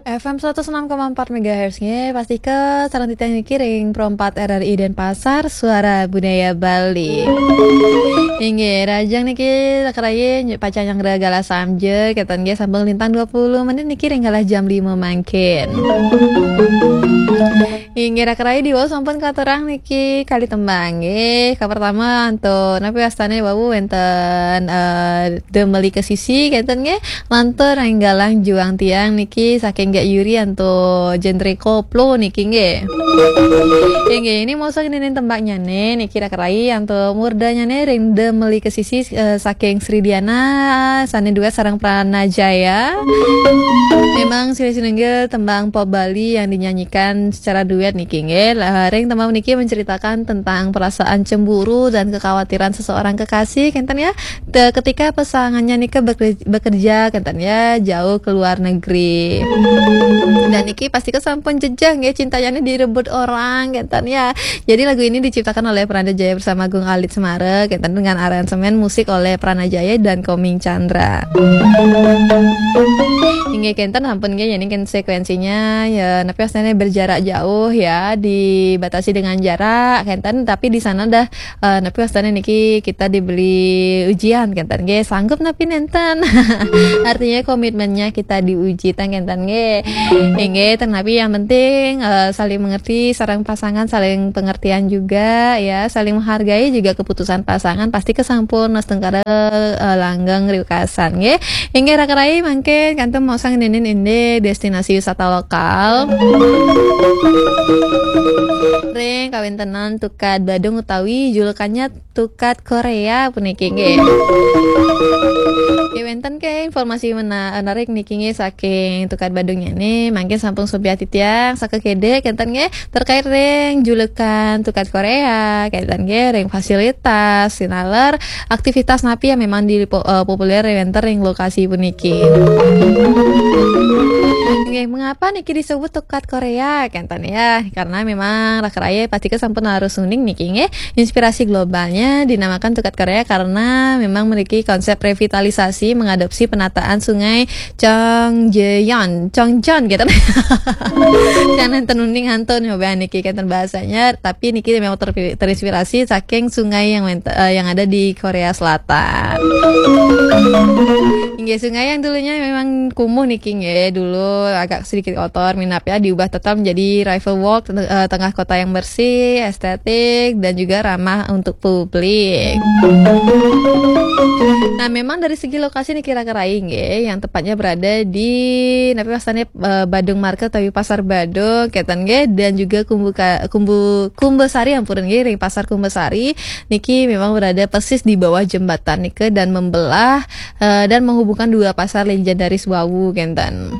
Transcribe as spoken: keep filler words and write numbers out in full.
F M seratus enam koma empat megahertz nggih, pastika sareng titiang niki ring Pro empat R R I Denpasar, Suara Budaya Bali. Inggih, rahajeng niki raka rayi pacang nyanggra galah samja, kenten nggih sampun lintang dua puluh menit niki ring galah jam lima mangkin. Inggih, raka rayi diwau sampun katurang niki kalih tembang nggih. Kapertama antuk napi wastane wau wenten, eh, Demeli Kesisi, kenten nggih. Lantur ring galah juang tiang niki saking Gek Yuri antuk genre koplo niki nggih. Inggih, ini mosok ngenenin tembangnyane niki raka rayi antuk murdanyane ring Demeli Kesisi, eh, saking Sri Diana sane duet sareng Pranajaya. Memang silih sinunggil tembang pop Bali yang dinyanyikan secara duet niki nggih. Lah, ring tembang niki menceritakan tentang perasaan cemburu dan kekhawatiran seseorang kekasih, kenten ya. Te-, ketika pasangannya nika beker-, bekerja, kenten ya, jauh ke luar negeri. Dan niki pastika sampun jejeh nggih, cintanya ini direbut orang, kenten ya. Jadi lagu ini diciptakan oleh Prananda Jaya bersama Agung Alit Semara, kenten, dengan aransemen musik oleh Pranajaya dan Koming Chandra. Inggih kenten sampun nggih, ini kan sekuensinya ya, napi wastane berjarak jauh ya, dibatasi dengan jarak, kenten, tapi di sana dah, eh, napi wastane niki kita diberi ujian, kenten nggih, sanggup napi nenten. Artinya komitmennya kita diuji, tang kenten nggih. Inggih, tang napi yang penting, eh, saling mengerti, sareng pasangan saling pengertian juga ya, saling menghargai juga keputusan pasangan, pastika sampun astungkara, eh, langgeng riwekasan nggih. Inggih raka rayi mangkin kantun maosang ngenenin indik destinasi wisata lokal ring kawentenan Tukad Badung utawi julukannya Tukad Korea puniki nggih. Nggih, wenten ke informasi mena-, menarik niki nggih saking Tukad Badungnyane, mangkin sampun subyati tiang sakekede kenten nggih terkait ring julukan Tukad Korea, kenten nggih ring fasilitas sinaler aktivitas napi yang memang di po-, eh, populer wenten ring lokasi puniki. Nggih, mengapa niki disebut Tukad Korea? Kenten ya, karena memang raka rayi pastika sampun harus uning niki nggih. Inspirasi globalnya dinamakan Tukad Korea karena memang memiliki konsep revitalisasi mengadopsi penataan Sungai Chongjeon, Chongjeon gitu. Jangan nenten uning antun nyoba niki kenten bahasanya, tapi niki memang terpi-, terinspirasi saking sungai yang ment-, eh, yang ada di Korea Selatan. Inggih, sungai yang dulunya memang kumuh niki nggih, dulu agak sedikit kotor, minab ya, diubah total menjadi river walk, eh, tengah kota yang bersih, estetik, dan juga ramah untuk publik. Nah, memang dari segi lokasi niki raka rayi nggih, yang tepatnya berada di, napi wastane, eh, Badung Market utawi Pasar Badung, kenten nggih, dan juga Kumbuka-, Kumbu-, Kumbasari, ampun nggih, ring Pasar Kumbasari niki memang berada persis di bawah jembatan nika dan membelah, eh, dan menghubungkan dua pasar legendaris wau, kenten.